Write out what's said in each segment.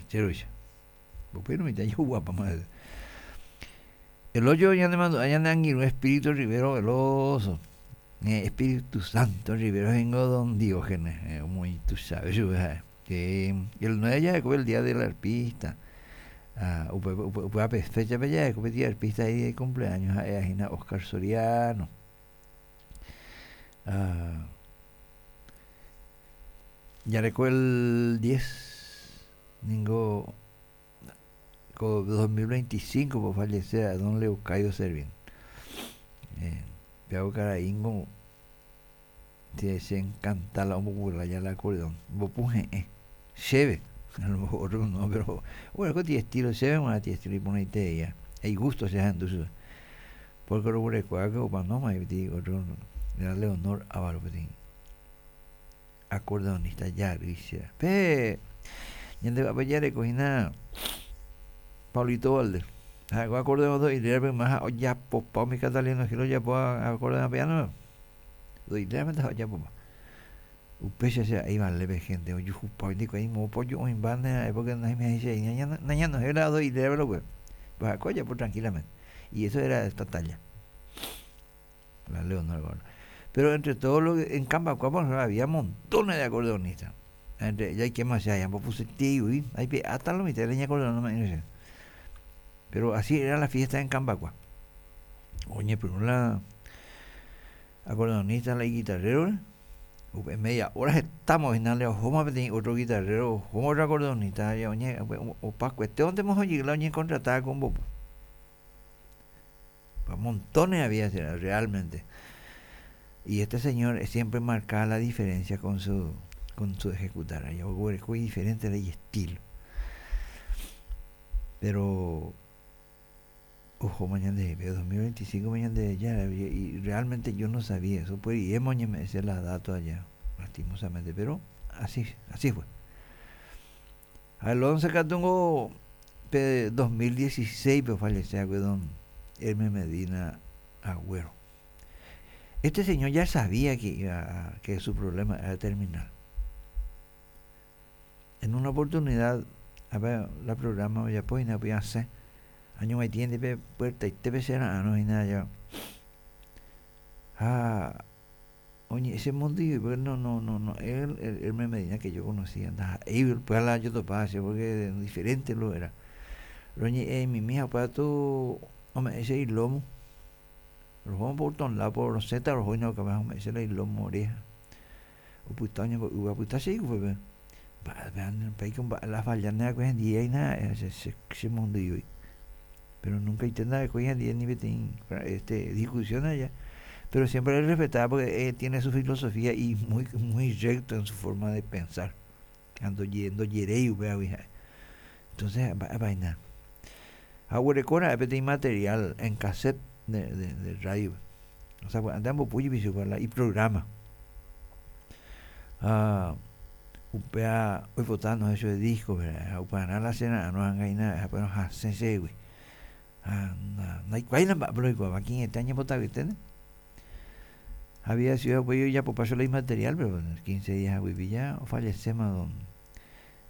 Rancheroicha. Upérõ mitã jaguapáma hese. El ocho ñanemandu'a ñane angirũ Espíritu Rivero Veloso. Espíritu Santo Rivero ningo don Diógenes, omoĩ tuichave chupe ha'e. El 9 jaheko el día del arpista. Ah, upe, upe, upe fecha-pe jaheko peteĩ arpista ahí cumpleaños ha'e hína Oscar Soriano. Ah, jareko el 10 ningo ko 2025 po fallece a don Leocadio Servín. Eh, peago karaíngo che, che encanta la ombopu ya la acordeón, ombopu he'ẽ, chéve, a lo mejor otro no, pero bueno, ko ti estilo chéve g̃uarã ti estilo iporãitereia, hay gusto che ahendu chupe. Porque roguerekoa que omanóma peteĩ otro era Leonor Ávalo peteĩ acordeonista jarýi che. Pe ñande vy'ápe jareko hína Paulito Valdés. Ha'eko acordeón do ilérape yma ha ojapopa umi Catalino Gil ojapo acordeón piano. Do ilérape ha ojapopa. Upéicha che a'i vale pe gente ojuhupa oindikuaa imópa oju'õimba ne porque naimiahichai nañanohẽi la do ilérape lo pues ha'eko ojapo tranquilamente. Y eso era esta talla. La Leonor Gordo. Pero entre todos los en Cambacuá, por ejemplo, había montones de acordeonistas. Entre ellas hay que más allá, puse tío, hay hasta lo mitad de acordeón no me Pero así era la fiesta en Cambacuá. Oye, pero la acordeonista, la guitarrero, upe media hora estamos final ojoma peteĩ otro guitarrero, ojoma otro acordeonista, oñe, opa cuestión de la oñe contratada con bopo. Montones había realmente. Y este señor siempre marcaba la diferencia con su con su ejecutar. Muy diferente de estilo. Pero ojo mañana de 2025 mañana de ya y realmente yo no sabía eso pues y hemos me decía las datos allá lastimosamente pero así así fue al 11 catungo pe 2016 pe falleció don Hermes Medina Agüero este señor ya sabía que iba que su problema era terminal en una oportunidad a ver la programa ya pues no podía hacer año me tiene pe puerta y te será no y nada ya ah oye ese mundo y no no no no él el Hermes Medina que yo conocía ndaha'éi pues la yo topaba porque diferente lo era roñe'ẽ mi mija pues tu ome'ẽ che ilomo roho por todos lados por roseta roho y no capaz ome'ẽ che la ilomo oreja opyta oñembo'ýva opyta che ikupe mba'e mba'e la falla ne'akue hendie aína che che mondýi pero nunca nda'ekue hendie ni peteĩ este discusión allá pero siempre le respetaba porque tiene su filosofía y muy muy recto en su forma de pensar ha ndojeréi upévagui ha'e entonces mba'épa hína ha oguerekóra'e peteĩ material en cassette de, de, de radio o sea antes ambopu jepi chupe la iprograma ha upéva oipota nohẽ chupe disco ha upearã la che ra'arõ hag̃aína ha pero hasẽ chehegui ha ndaikuaáina mba'épa la oikuaáva ki'ĩete añembotavyete había sido upéi ojapopa chupe la imaterial pero 15 días haguipi ya ofallecéma don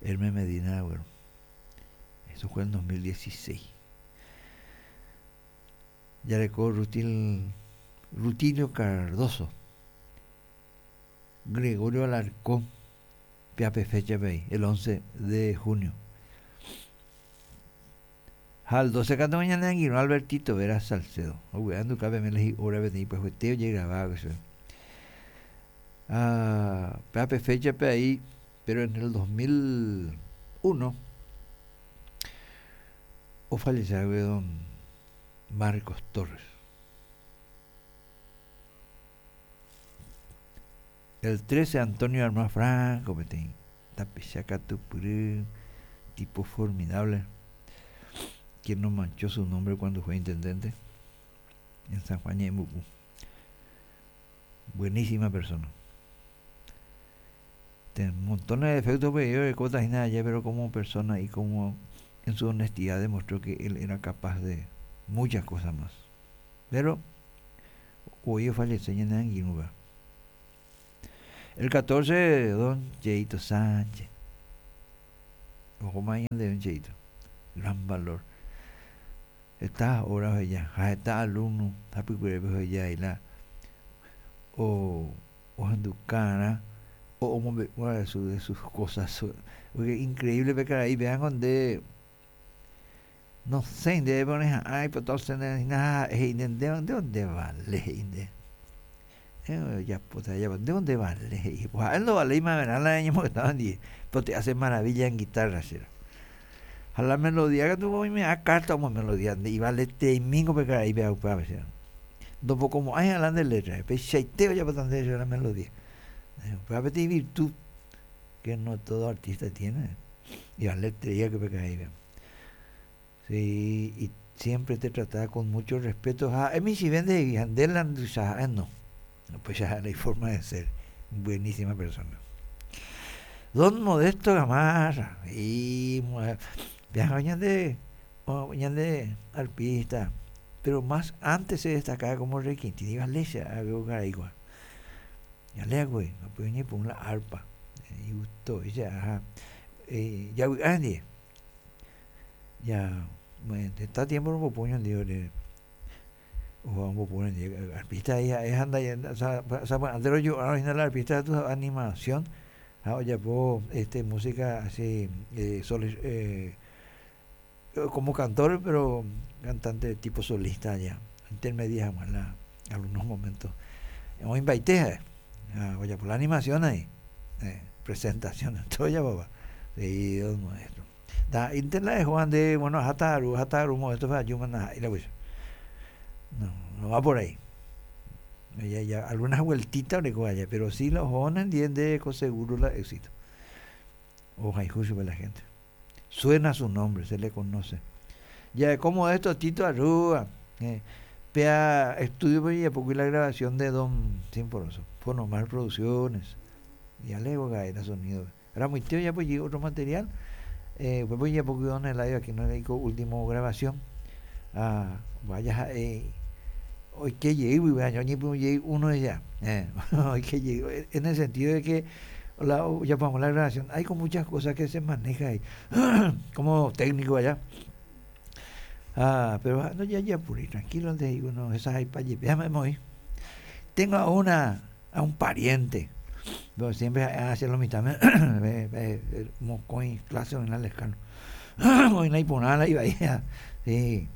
Hermes Medina Agüero eso fue en 2016 jareko Rutil Rutilio Cardoso Gregorio Alarcón péape fecha-pe ahí el 11 de junio ha el 12 katu ñane angirũ Albertito Vera Salcedo ovy'a nduka peme la hi'óra peteĩ pyahuete ojegrabáva chupe ha péape fecha-pe ahí pero en el 2001 ofallecea don Marcos Torres El 13 Antonio Armas Franco peteĩ tapicha katupyry tipo formidable quien no manchó su nombre cuando fue intendente en San Juan Ñe'ẽmbuku. Buenísima persona. Tiene montones de defectos pero orekóta hína allá pero como persona y como en su honestidad demostró que él era capaz de muchas cosas más. Pero hoy ofallece ñane angirũva. El 14 don Cheito Sánchez. Ohóma ñandéve cheito. Gran valor. Heta obra oheja ha heta alumno hapykuerépe oheja la o ohendukarã o omombe'úva su de sus cosas. Porque increíble pe karai péango nde nosẽi ndéve oreha'ã oipota osẽ ndéve hína ha ha'e he'i nde ndéva nde vale he'i nde. Ojapóta jajapo ndévo nde vale he'i. Ha'e ndovaléi maverã la reñemongetáva ndive, pero te hace maravilla en guitarra che. Ha la melodía katu oime'ã carta omo melodía nde ivaleteimíngo pe karaípe ha upéva che. Ndopokomo'ãi ha la nde letra, peichaite ojapóta nde la melodía. Upéva peteĩ virtud que no todo artista tiene. Ivaletereía que pe karaípe. Sí, y siempre te trataba con mucho respeto. Ha ha'e michĩve ndehegui ha nde la nduicha ha'e no. Upéicha ha'e la iforma de ser. Buenísima persona. Don Modesto Gamarra. Y viaja ñande, ñande arpista. Pero más antes se destacaba como requintín. Iba leche a karai. Ya güey, oñepyrũ la arpa. Y gustó. Y ya, ya vy'a Ya, heta tiempo rombopu ñandéve ore ombopu ñandéve arpista ha'e ha ndaje sapy'ánte rojo'árõ hína la arpista katu animación ha ojapo este música así como cantor pero cantante tipo solista ya intermedia hag̃ua la algunos momentos oĩmbaite ha'e ha ojapo la animación ahí presentación todo ojapóva he'i don maestro. Ndaha'éinte la ehóva nde, bueno, aháta aru, aháta aru modesto pe ajúma ndaha'éi la upéicha. No, no va por ahí. Ya, ya, algunas vueltitas oreko aja, pero si la ohóva nendie nde ko seguro la éxito. Ohayhu chupe la gente. Suena su nombre, se le conoce. Ja'eko Modesto Tito Arrúa, eh, péa estudio-pe ojejapókuri la grabación de Don Sinforoso, Fonomar Producciones. Ya le ha'éta sonido. Ramoite ojapo jey otro material, upépe ojejapo kuri Don Eladio Aquino ko último grabación. Ah, vaya ha'e oike jey guive año oñepyrũ jey uno de ya. Oike jey en el sentido de que la ojapo hag̃ua la grabación hay con muchas cosas que se maneja ahí como técnico allá. Ah, pero no jajapuri, tranquilo nde he'i uno hesahaipa jepi ha Tengo a una a un pariente pero siempre ha'e che lo mitãme mokõi clase oĩ la Lescano oĩ la iporã la ivaíva sí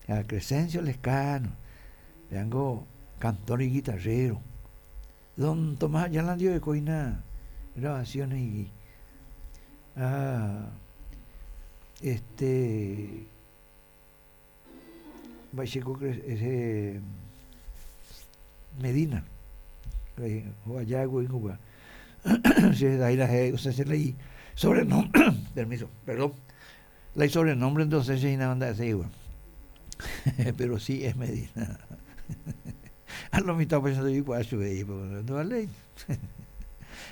a Crescencio Lescano péango cantor y guitarrero don Tomás Ayala ndive oiko hína grabaciones igui ha este Mba'éichako ese Medina oaja guýngo che la che la isobrenombre permiso perdón la isobrenombre entonces che hína nda'eséigua pero si es Medina a lo mitad upéicha ndoikuaa chupe ndovaléi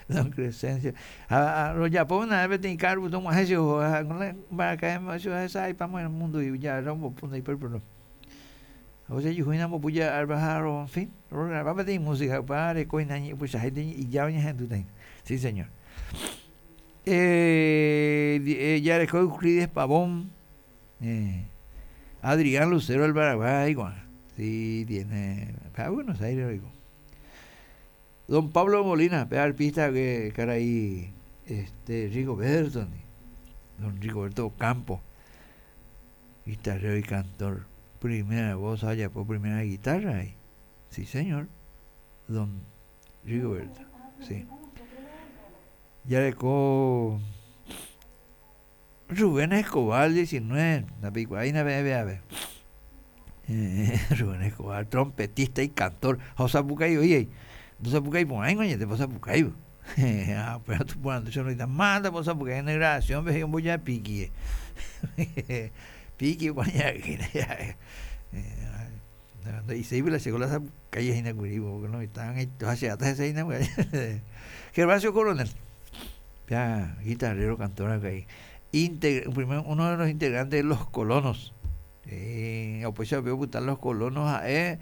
Don Crescencio ha rojapo una vez peteĩ cargo tog̃uahẽ che oho mbaraka'e che ohesa'aipáma el mundo ja rombopu ndaipóri ha ojejuhu hína ombopu ja arpa ha en fin rograba peteĩ música upéva reko hína upeichaháinte ija oñehendúta hína sí señor jareko Euclides Pavón Adrián Lucero del Paraguay ko'ág̃a sí tiene ha Buenos Aires oiko Don Pablo Molina, pe arpista karai este Rigoberto ndi, don Rigoberto Ocampo, guitarrero y cantor, primera voz ha ojapo primera guitarra he'i. Sí señor, don Rigoberto, sí. Jareko Rubén Escobar 19, ndapeikuaáina peẽ peave. Rubén Escobar, trompetista y cantor, ha osapukái voi he'i. Ndosapukái porãingo añete, osapukáivo. Ha upéva tuporandu che roĩta, mátapa osapukái en grabación-pe he'i omboja píkie. Píkie kuaña ha'e. Nde'iséigui la che ko la sapukái hína kuri, porque lo mitã ha che áta hese hína. Gervasio Coronel. Ya, guitarrero, cantor acá ahí. Primero, uno de los integrantes de los colonos. Upéicha upe opyta los colonos ha'e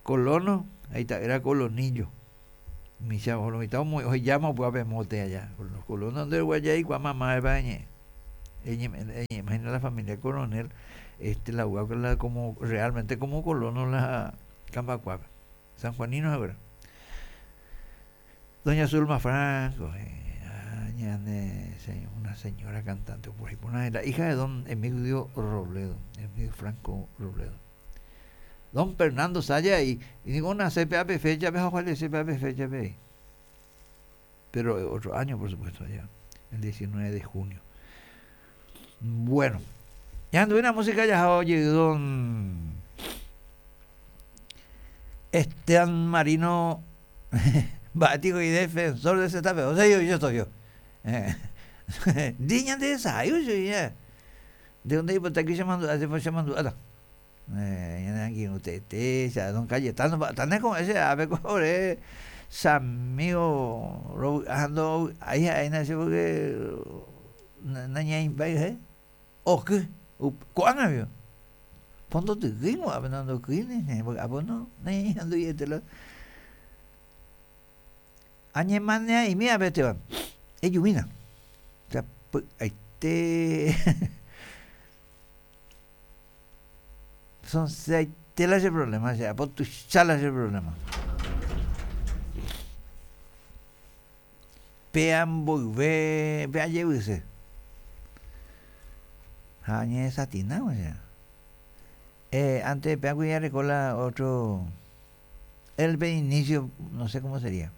colono, ahí era colonillo. Micha lo mitad ohejáma upéva pe mote allá. Los colonos nde guayai kua mamá epa ñe'ẽ. Imagina la familia Coronel, este, la la como realmente como colono la Cambacuá, sanjuanino ahora. Doña Zulma Franco, una señora cantante por ahí, la hija de don Emilio Robledo, Emilio Franco Robledo. Don Fernando Saya y digo una CPAP fecha, CPAP fecha, pero otro año, por supuesto, allá, el 19 de junio. Bueno, ya anduve una música ya oye, don Esteban Marino, bático y defensor de Zetafe, o sea, yo estoy yo. Diña de esa, yo ya. De dónde iba aquí llamando, hace fue llamando, usted, don Cayetano, tan con ese ave cobre, amigo, ando ahí ahí nace porque naña impai, o qué, ¿cuán había? Pondo te guimo, abenando kine, porque abono, naña ando y este lo. Añe manea y mía vete van. Eyumina. Este son seis telas de problema, o sea, por tu chala ese problema. Pean volve, pea llevarse. Añe satina, o sea. Antes pea cuidar recola otro el inicio, no sé cómo sería.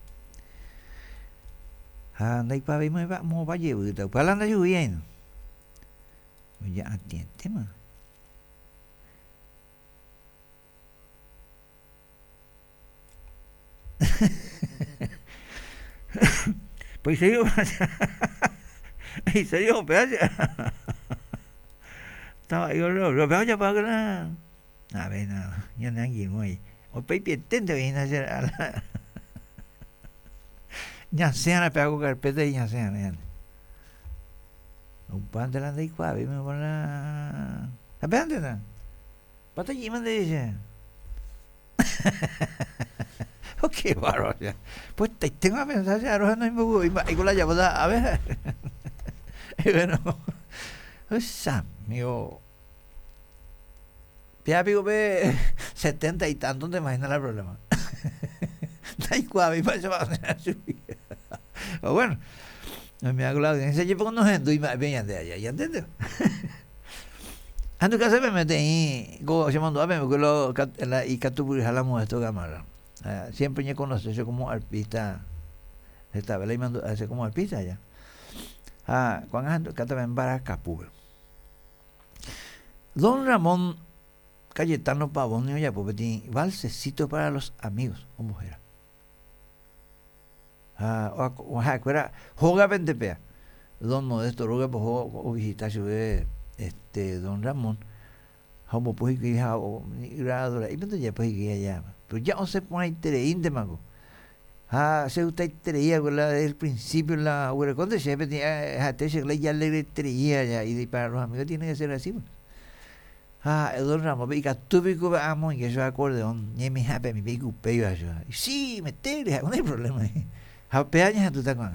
Anda y pa vimos mo pa llevar, pa la anda lloviendo. Ya atiende, ma. Pues serio, en serio, Estaba yo lo veo ya para la a ver, no, ya no hay muy. O pe pietente viene a hacer a la ya sea la pego carpeta y ya sea, Un pan de la de cuá, me pon la la pegante na. Pata allí mande dice. Oh, qué bárbaro. Pues te tengo a pensar, ya no me voy, y con la llamada, a ver. Y bueno, pues amigo. Ya pico ve 70 y tanto, te imaginas el problema. Da igual, mi va a subir. Bueno, me hago la audiencia, yo pongo no y me de allá, ¿ya entiendes? Ando casa me mete ahí, como se mandó a me lo la y catupuri jalamos esto cámara. Siempre me conoce yo como arpista. Esta vez y mando hace como arpista ya. Ah, cuando ando canta en Baracapube. Don Ramón Cayetano Pavón ya pues valsecito para los amigos, como era. Ah, o era joga pea. Don Modesto Roga pues o visita este don Ramón. Como pues que ya o y ya pues que ya. Pero ya no se pone intereinte mango. Ah, se usted creía con la del principio la cuando se tenía ya le creía ya y para los amigos tiene que ser así. Pues. Ah, el don Ramón, y catúpico amo y que yo acordeón, ni mi jape mi pico peyo Sí, metele, no hay problema.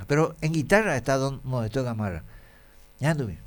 Pero en guitarra está don Modesto Gamarra. Ya tuve.